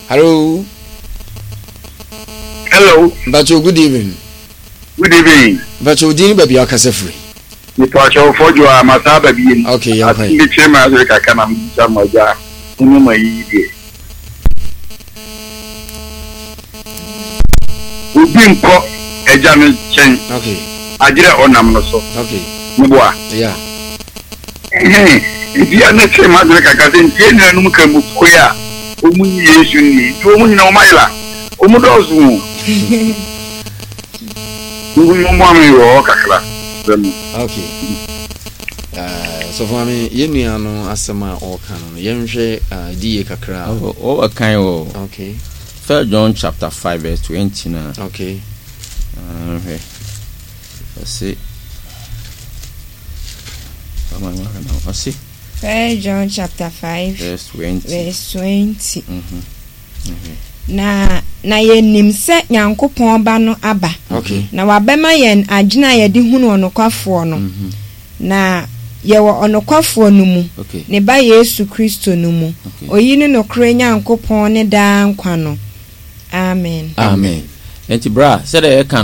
Hello. Hello. Mpacho good evening. Good evening. Mpacho din ne baabi a wakasa firi. Mepacho fɔdwo a masa aba biem. Okay, yɛn kwan. Asem bi kyerɛ me adwene kakra na mebisa mo agya mo ne mo ayiyi deɛ. Obi nkɔ agya no nkyɛn. Okay. Agyerɛ ɔnam no so. Okay. Meboa. Yeah. Ɛhɛn, nti a na ɛkyere m'adwene kakra sɛ nti yɛn nuanom Nkramofoɔ yi a wɔn nyi Yesu nni nti wɔn nyina wɔn ayera, wɔn dɔɔso o. Mommoa me wɔ hɔ kakra, mesrɛ mo. Okay. Uh, sɔfo maame, yɛn nua no asɛm a ɔreka no no, yɛnhwɛ uh, di yie kakra. Oh, ɔkan wɔ. Okay. First John chapter 5 verse 20 na. Okay. Uh, hwɛ. Ɔse. Ɔse. First John chapter 5 verse 20. Verse 20. Mm -hmm. Mm -hmm. Na na yɛnim sɛ Nyankopɔn Ba no aba, okay. na wabɛma yɛn adwene a yɛde hunu ɔnokwafoɔ no. Mm -hmm. Na yɛwɔ ɔnokwafoɔ no mu, okay. ne Ba Yesu Kristo no mu. Okay. Oyi ne nokorɛ Nyankopɔn ne daa nkwa no. Amen. Amen. Enti bra, sɛdeɛ yɛka